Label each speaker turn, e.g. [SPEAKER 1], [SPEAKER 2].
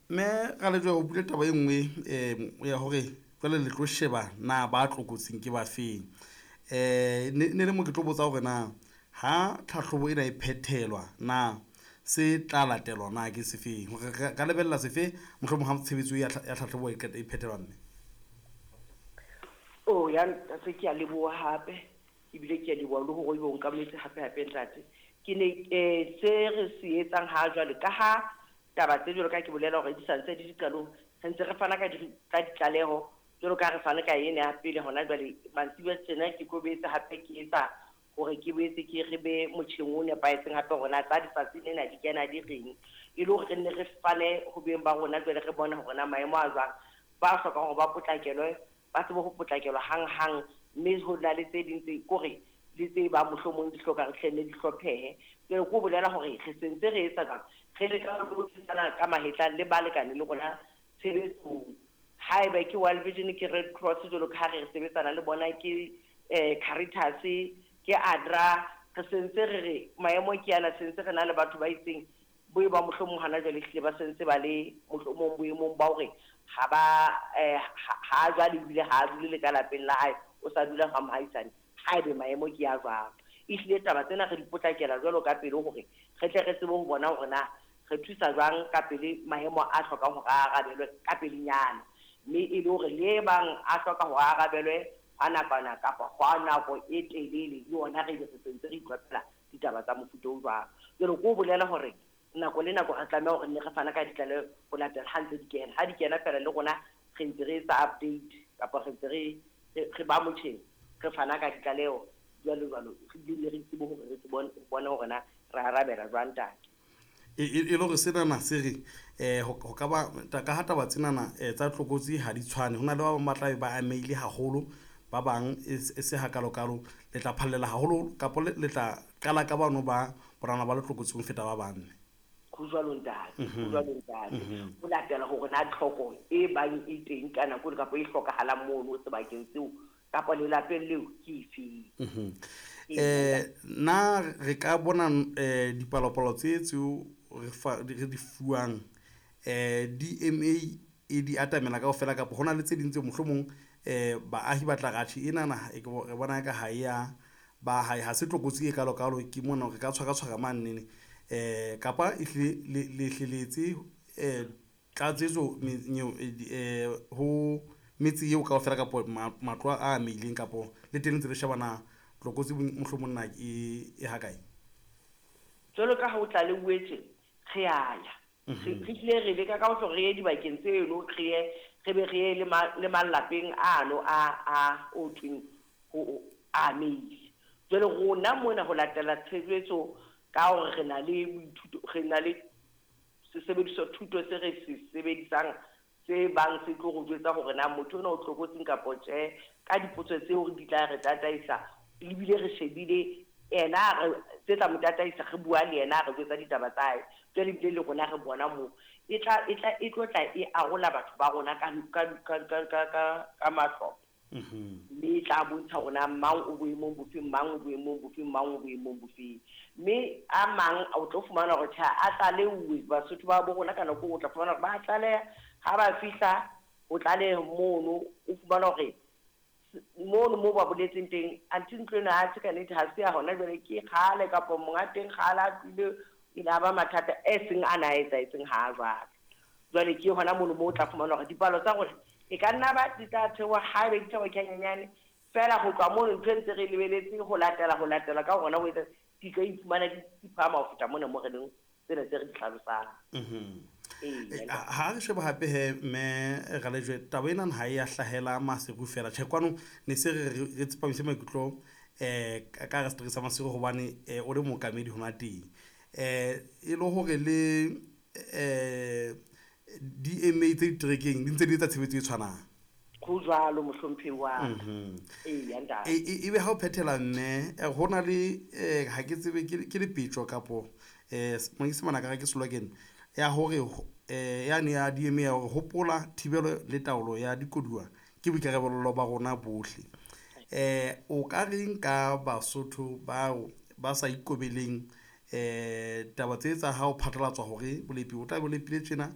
[SPEAKER 1] Mme Ralejwe, o buile taba e nngwe ya hore jwale le tlo sheba na ba tlokotsing ke ba feng. Ne le mo ke tlo botsa hore na ha tlhahlobo ena e phethelwa na se tla latelwa na ke sefeng, hore re ka lebella sefe mohlomong ha tshebetso ya tlhahlobo e qeta e phethelwa mme.
[SPEAKER 2] Oh ya ntate, ke a leboha hape, ebile ke a leboha le hore ebe o nkametse hape hape ntate. Ke ne se re se etsang ha jwale ka ha taba tse jwalo ka ke bolela hore di santse di diqalong, re ntse re fana ka ditlaleho jwalo ka re fane ka ena ya pele hona jwale. Mantsibuya tjena ke tlo boetse hape ke etsa hore ke boetse ke re be motjheng o nepahetseng hape hore na tsa letsatsi lena di kena di reng, e le hore re nne re fane ho beng ba rona jwale re bone hore na maemo a jwang, ba hlokang hore ba potlakelwe ba tsebe ho potlakelwa hang-hang, mme ho na le tse ding tse kore le tse bang mohlomong di hloka re hle ne di hlophehe. Jwale ke ho bolela hore re sentse re etsa jwang, re leka ho thusana ka mahetla le balekane le rona tshebetsong. Haeba ke World Vision, ke Red Cross jwalo ka ha re sebetsana le bona, ke Caritas, ke ADRA, re sentse re re maemo ke ana, sentse re na le batho ba itseng bo e ba mohlomong hana jwale ehlile ba sentse ba le mohlomong boemong ba hore ha ba ha jwale ebile ha a dule le ka lapeng la hae, o sa dula ha mohaisane. Haebe maemo ke a jwalo, ehlile taba tsena re di potlakela jwalo ka pele hore re tle re tsebe ho bona hore na re thusa jwang ka pele maemo a hlokang hore a arabelwe ka pelenyana, mme e le hore le bang a hloka hore a arabelwe hwa nakwana kapa hwa nako e telele, le yona re be re sentse re itlwaphela ditaba tsa mofuta o jwalo. Jwale ke ho bolela hore nako le nako re tlameha hore nne re fana ka ditlaleho ho latela ha ntse di kena. Ha di kena fela le rona re ntse re etsa update kapa re ntse re ba motjheng, re fana ka ditlaleho jwalo jwalo, re bile re tsebe hore re bone hore na re arabela jwang ntate.
[SPEAKER 1] E le hore senana se re ho ka ba ka ha taba tsenana tsa tlokotsi ha di tshwane, ho na le ba bang ba tla be ba amehile haholo, ba bang e se hakalokalo. Le tla phallela haholo kapa le tla qala ka bano ba bonana ba le tlokotsing ho feta ba bang?
[SPEAKER 2] Ho jwalo ntate, ho jwalo ntate. Ho latela hore na tlhoko e bang e teng ka nako kapa e hlokahalang mono sebakeng seo kapa lelapeng leo ke efeng.
[SPEAKER 1] Na re ka bona dipalopalo tse tseo re di fuwang DMA e di atamela kaofela, kapa hona le tse ding tse mohlomong baahi ba tla re atjhe enana re bona ka ha ya ba ha se tlokotsi e kalokalo, ke mona re ka tshwara tshwara mane kapa ehlile le hleletse tlatsetso ho metse eo kaofela kapa matlo a amehileng, kapa le teng ntse le shebana tlokotsi mohlomong na e hakae?
[SPEAKER 2] Jwalo ka ha o tlaleuwetse, re a ya. Re hlile re leka ka hohle re ye dibakeng tseno, re ye re be re ye le malapeng ano a o thweng ho amehile. Jwale rona mona ho latela tshebetso ka hore re na le boithuto, re na le sesebediswa thuto se re se sebedisang se bang se tlo re jwetsa hore na motho ona o tlokotsing kapa tjhe, ka dipotso tseo di tla re tataisa, ebile re shebile yena re tse tla mo tataisa, re bua le yena re jwetsa ditaba tsa hae. Jwale ebile le rona re bona moo e tlo tla e arola batho ba rona ka mahlopha. Mme e tla bontsha hore na mang o boemong bofeng, mang o boemong bofeng, mang o boemong bofeng. Mme a mang o tlo fumana hore tjhe a tlaleuwe, Basotho ba bo rona ka nako o tla fumana hore ba tlaleha, ha ba fihla ho tlaleha mono o fumana hore mono mo ba boletseng teng anthe ntlo ena ha se ka nnete, ha se ya hona jwale, ke kgale kapa monga teng kgale a tlile, e la ba mathata e seng a na etsahetseng ha jwale. Jwale ke hona mono mo o tla fumana hore dipalo tsa rona e ka nna ba di tla theoha haebe di theoha ke hanyenyane fela, ho tloha mono ntho e ntse re lebeletse ho latela ka hona ho etsa di tlo iphumana di phahama ho feta mona mo re leng tsena tse re di hlalosang.
[SPEAKER 1] Ha re sheba hape he mme Ralejwe, taba ena ha e ya hlahela Maseru fela. Tjhe, kwano ne se re tsepamise maikutlo ka hara setereke sa Maseru hobane o le mookamedi hona teng. E le hore le DMA tse diterekeng di ntse di etsa tshebetso e tshwanang.
[SPEAKER 2] Ho jwalo mohlomphehi wa ka. Eya ntate.
[SPEAKER 1] Ebe ha o phethela mme, ho na le ha ke tsebe ke lepetjo kapo manyesemane a ka re ke slogan ya hore yane ya DMA ya hore hopola thibelo le taolo ya dikoduwa ke boikarabelo ba rona bohle. O ka reng ka Basotho bao ba sa ikobeleng taba tse tsa ha o phatlalatswa hore bolepi o tla be o lepile tjena,